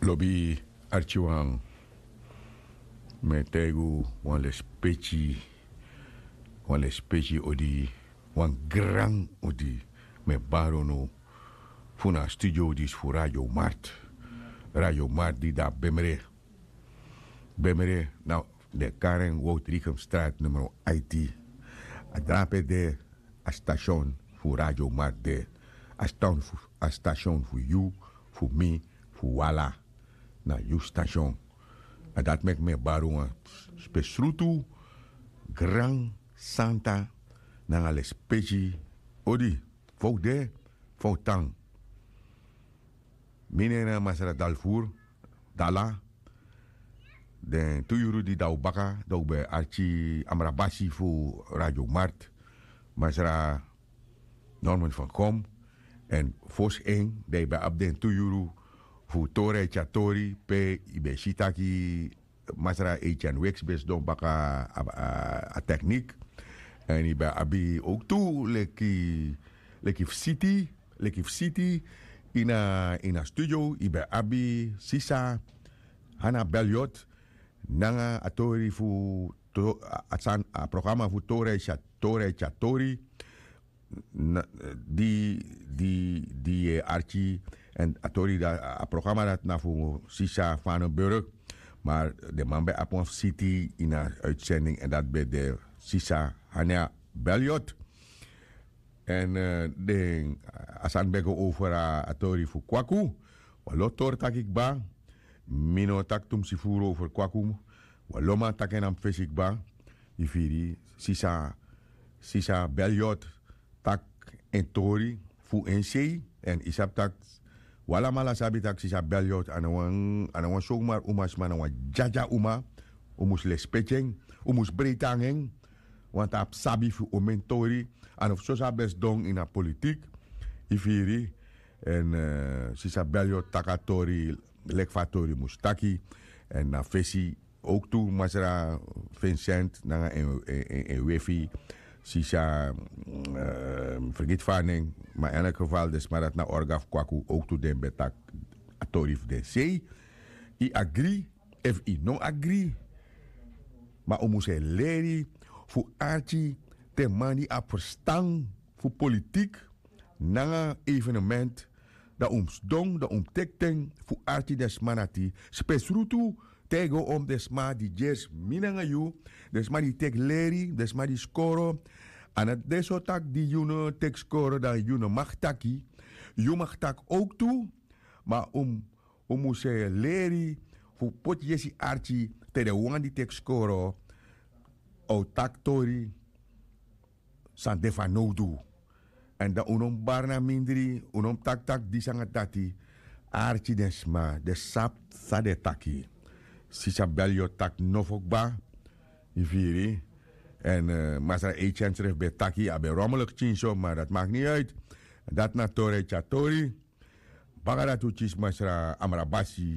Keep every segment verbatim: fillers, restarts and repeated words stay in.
Lobi arkiwan, mi e taigi unu wan lespeki, wan lespeki odi, wan gran odi. Mi e bari unu fu na a studio disi fu Radio Mart. Radio Mart di de na Bemre. Bemre na den kari en Woutrichem Straat numero aiti. A drape de a station fu Radio Mart de. A station fu, a station fu yu, fu mi, fu wala. Na yu station. A dati meki mi e bari wan spesrutu gran santa nanga lespeki odi. Fa un de, fa un tan. Mi nen na Masra Dalfur, Dala. Den tu yuru di de na un baka, dan un ben arki amrabasi fu Radio Mart, Masra Norman van Kom. Èn fosi en, dan yu ben abi den tu yuru fu Tori Eti a Tori, pe yu ben si taki Masra Etienne Weks ben sidon baka a, a, a teknik. Èn yu ben abi owktu leki, leki fu siti, leki fu siti ini a, ini a studio, yu ben abi sisa Hana Beliot, nanga a tori fu to-, a, a san, a programa fu Tori Eti a, Tori Eti a Tori. Na, di, di, di yu e arki, èn a tori dati, a programa dati na fu sisa Fanenburg. Ma den man ben abi wan siti ini a uitzending, èn dati ben de sisa Hana Beliot. Èn, eh, den, a sani ben go over a, a tori fu Kwaku. Wan lo tori taki kba. Mi no o taki tumsi furu over Kwaku. Wan lo man taki en na mi fesi kba. Yu firi, sisa, sisa Beliot taki en tori fu en sei. Èn yu sabi taki, wi alamala sabi taki sisa Beliot a no wan, a no wan sowmar uma sma, na wan dyadya uma. Un mus lespeki en, un mus breiti nanga en. Wanta a abi sabi fu omen tori. A no fu soso a ben sidon ini a politik. Yu firi. Èn, eh, sisa Beliot taki a tori leki fa a tori mus taki. Èn na fesi owktu Masra Vincent nanga en, en, en, en wefi, sisa, mm, eh, mi fergiti fa a nen, ma in elk geval den sma dati na orga fu Kwaku, owktu den ben taki a tori fu den sei. Yu agri efu yu no agri, ma un mus e leri fu arki te man di abi ferstan fu politik nanga evenement, dan un mus sidon, dan un mus teki ten fu arki den sma dati, spesrutu te yu go om den sma di gersi mi nanga yu, den sma di teki leri, den sma di skoro. A no de so taki di yu no teki skoro dan yu no mag taki. Yu mag taki owktu, ma un, un mus e leri fu poti yesi arki te den wan di teki skoro o taki tori san de fanowdu. Èn dan un no mus bari na mindri, un no mus taki taki disi nanga dati. Arki den sma, den sabi san den e taki. Sisa Beliot taki nofo kba, yu firi. Èn, eh, Masra Etienne srefi ben taki, a ben rommeliki pikinso, ma dati maki ni uit. Dati na Tori Eti a Tori. Baka dati un kisi Masra Amrabasi,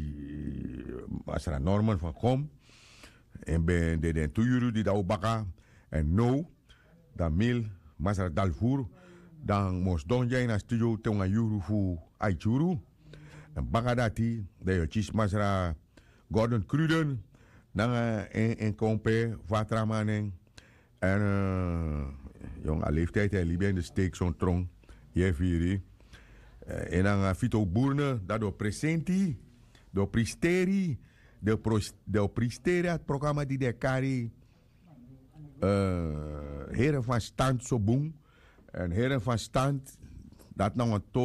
Masra Norman van Kom. En ben de den tu yuru di de na un baka. Èn now, dan mi, Masra Dalfur, dan mi o sidon dya ini a studio te wan yuru fu aiti yuru. Èn baka dati, dan yu o kisi Masra Gordon Cruden, nanga en, en kompe, fu a tra man nen. Èn, eh, yon, a leeftijd e libi en de steek son tron. Yu e firi. Eh, en nanga Fito Burne, dan den o presenti, den o pristeri, den o pros-, den o pristeri a programa di den e kari, eh, Heren van Stand so bun. Èn Heren van Stand, dati na wan tori